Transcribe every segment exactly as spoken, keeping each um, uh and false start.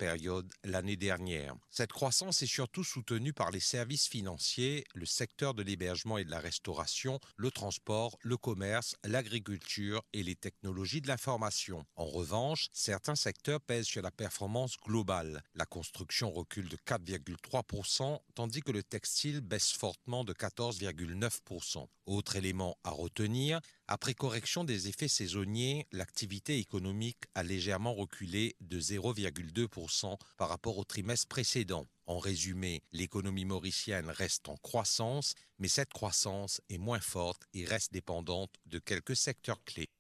période l'année dernière. Cette croissance est surtout soutenue par les services financiers, le secteur de l'hébergement et de la restauration, le transport, le commerce, l'agriculture et les technologies de l'information. En revanche, certains secteurs pèsent sur la performance globale. La construction recule de quatre virgule trois pour cent, tandis que le textile baisse fortement de quatorze virgule neuf pour cent. Autre élément à retenir, après correction des effets saisonniers, l'activité économique a légèrement reculé de zéro virgule deux pour cent par rapport au trimestre précédent. En résumé, l'économie mauricienne reste en croissance, mais cette croissance est moins forte et reste dépendante de quelques secteurs clés.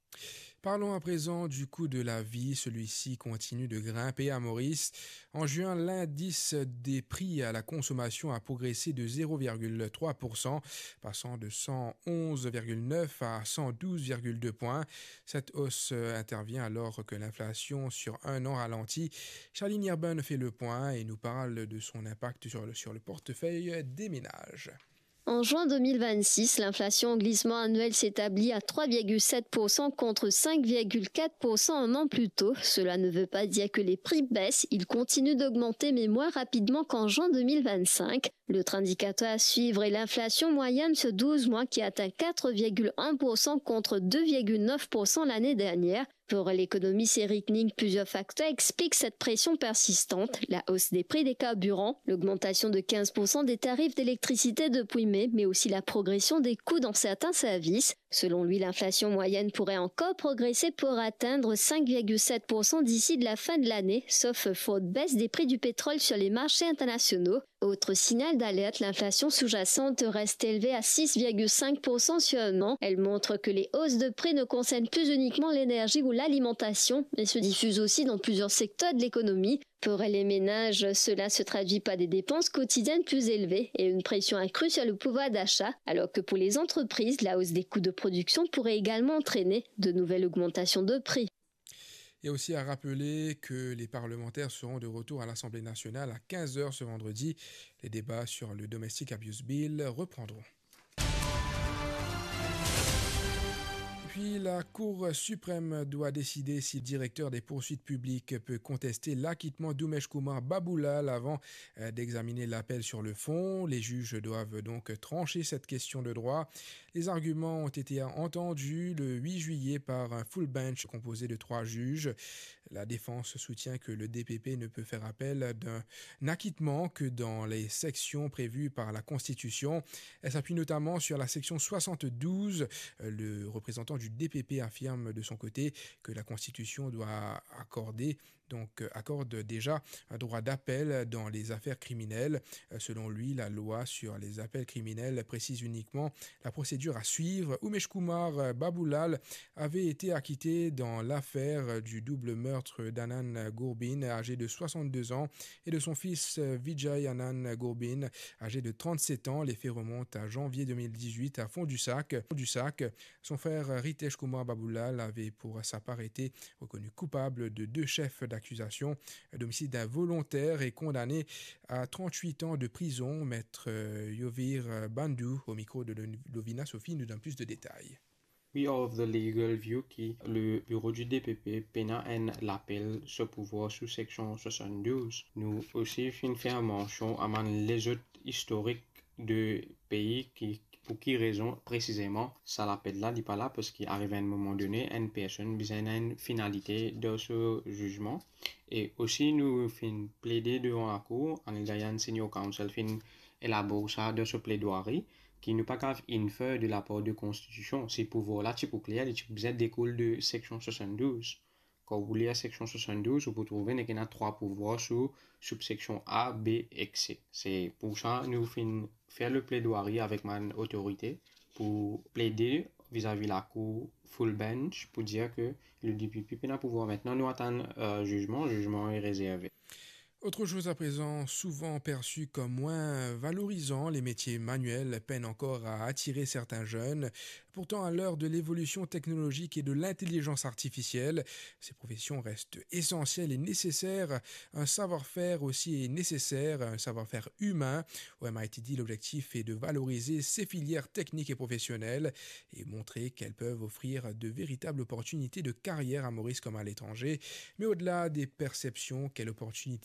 Parlons à présent du coût de la vie. Celui-ci continue de grimper à Maurice. En juin, l'indice des prix à la consommation a progressé de zéro virgule trois pour cent, passant de cent onze virgule neuf à cent douze virgule deux points. Cette hausse, euh, intervient alors que l'inflation sur un an ralentit. Charline Irben fait le point et nous parle de son impact sur le, sur le portefeuille des ménages. En juin deux mille vingt-six, l'inflation en glissement annuel s'établit à trois virgule sept pour cent contre cinq virgule quatre pour cent un an plus tôt. Cela ne veut pas dire que les prix baissent, ils continuent d'augmenter, mais moins rapidement qu'en juin deux mille vingt-cinq. L'autre indicateur à suivre est l'inflation moyenne sur douze mois qui atteint quatre virgule un pour cent contre deux virgule neuf pour cent l'année dernière. Pour l'économiste Eric Ning, plusieurs facteurs expliquent cette pression persistante, la hausse des prix des carburants, l'augmentation de quinze pour cent des tarifs d'électricité depuis mai, mais aussi la progression des coûts dans certains services. Selon lui, l'inflation moyenne pourrait encore progresser pour atteindre cinq virgule sept pour cent d'ici de la fin de l'année, sauf forte baisse des prix du pétrole sur les marchés internationaux. Autre signal d'alerte, l'inflation sous-jacente reste élevée à six virgule cinq pour cent sur un an. Elle montre que les hausses de prix ne concernent plus uniquement l'énergie ou l'alimentation, mais se diffusent aussi dans plusieurs secteurs de l'économie. Pour les ménages, cela se traduit par des dépenses quotidiennes plus élevées et une pression accrue sur le pouvoir d'achat, alors que pour les entreprises, la hausse des coûts de production pourrait également entraîner de nouvelles augmentations de prix. Et aussi à rappeler que les parlementaires seront de retour à l'Assemblée nationale à quinze heures ce vendredi. Les débats sur le Domestic Abuse Bill reprendront. Puis la Cour suprême doit décider si le directeur des poursuites publiques peut contester l'acquittement d'Umesh Kumar Baboolal avant, euh, d'examiner l'appel sur le fond. Les juges doivent donc trancher cette question de droit. Les arguments ont été entendus le huit juillet par un full bench composé de trois juges. La défense soutient que le D P P ne peut faire appel d'un acquittement que dans les sections prévues par la Constitution. Elle s'appuie notamment sur la section soixante-douze. Le représentant du D P P affirme de son côté que la Constitution doit accorder donc, euh, accorde déjà un droit d'appel dans les affaires criminelles. Euh, selon lui, la loi sur les appels criminels précise uniquement la procédure à suivre. Umesh Kumar, euh, Baboolal avait été acquitté dans l'affaire du double meurtre d'Anand Gurbin, âgé de soixante-deux ans, et de son fils, euh, Vijay Anand Gurbin, âgé de trente-sept ans. Les faits remontent à janvier deux mille dix-huit à Fond-du-Sac. Fond-du-Sac. Son frère Ritesh Kumar Baboolal avait pour sa part été reconnu coupable de deux chefs d'accusation d'homicide involontaire et condamné à trente-huit ans de prison. Maître, euh, Yovir, euh, Bandhu, au micro de Lo-, Lovina Sophie, nous donne plus de détails. We of the legal view ki le bureau du D P P pena enn lapel so pouvwar sou seksion soixante-douze. Nou osi finn fer mansion a bann lezot istorik de pei ki, pou ki rezon presizeman sa lapel la li pa la, parski ariv enn moman done, enn personn bizin ena enn finalite dan so zizman. E osi nou finn plede devan lakour, Anil Dayan, senior counsel, finn elabor sa dan so pledwari, ki nou pa kav infer de lapar de konstitision. Se pouvwar la ti pou kler, li ti pou bizin dekoul de seksion soixante-douze. Kan ou lir seksion soixante-douze, ou pou trouve nek ena trwa pouvwar sou subseksion A, B ek C. Se pou sa nou finn fer le pledwari avek bann otorite pou plede vizavi lakour full bench pou dir ke le D P P pena pouvwar. Aster nou atann, euh, zizman, zizman e rezerve. Autre chose à présent, souvent perçu comme moins valorisant, les métiers manuels peinent encore à attirer certains jeunes. Pourtant, à l'heure de l'évolution technologique et de l'intelligence artificielle, ces professions restent essentielles et nécessaires. Un savoir-faire aussi est nécessaire, un savoir-faire humain. Au M I T D, l'objectif est de valoriser ces filières techniques et professionnelles et montrer qu'elles peuvent offrir de véritables opportunités de carrière à Maurice comme à l'étranger. Mais au-delà des perceptions, quelle opportunité